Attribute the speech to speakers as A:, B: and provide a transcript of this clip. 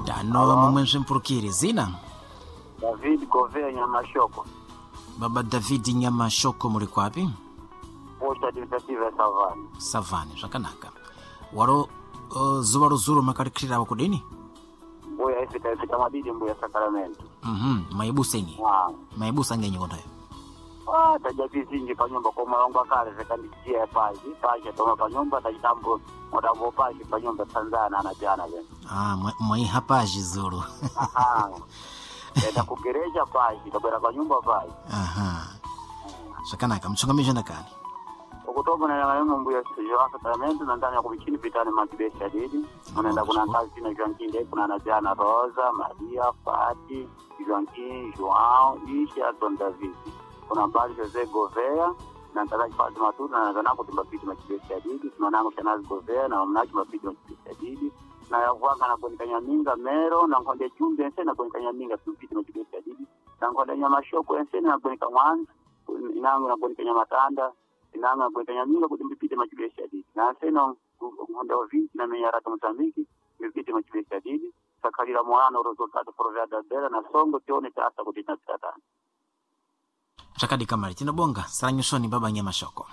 A: Tano momwe mswimpurukire zina.
B: David Govea Nyamashoko,
A: Baba David Nyamashoko, muli kwapi?
B: Posta Administrativa ya Savana.
A: Savani, zvakanaka. Waro zuva lozuro makalikhirirawo kudini?
B: Mbuya ifika ifika madidi mbuya Sacramento.
A: Maibusenyi.
B: Ah.
A: Maibusa ngenyi kondayo.
B: Ah, taja vizinji panyumba kwa malongo akale zikandijia paji paji toma panyumba tajitambo mutambo paji panyumba tanzana anajana vene.
A: Ah, mwaiha paji zulu.
B: Aha. Enda kugereja paji tabwera panyumba paji.
A: Aha. Zvakanaka, mtsongamizha ndakani.
B: Okutoba na yanga mbuya ya Sacramento na ndani ya kubichini pitani makibesha didi. Unaenda kuna kazi na Joaquim kuna anajana Rosa, Maria, Fati, Joaquim, João, Isha, Don David. Kuna mbali Jose Govea na ntakaji Fatima Matutu na nazanako timbapiti makibesha didi. Tunanango Shanazi Govea na mnachi mapiti makibesha didi. Na yavwanga na gonika Nyaminga Mero na nkonde Jumbe ense na gonika Nyaminga tumpiti makibesha didi. Na nkonde Nyamashoko ense na gonika Mwanza inango na gonika Nyamatanda inanga gonika Nyaminga kuti mbipite makibesha didi. Na nseno nkonde Ovinti na menyarata Mozambique mbipite makibesha didi. Sakalira mwana o resultado proveda dela na songo tione tata kuti tinapita tani.
A: Zvakadi kamari tinobonga saranyusoni baba Nyamashoko.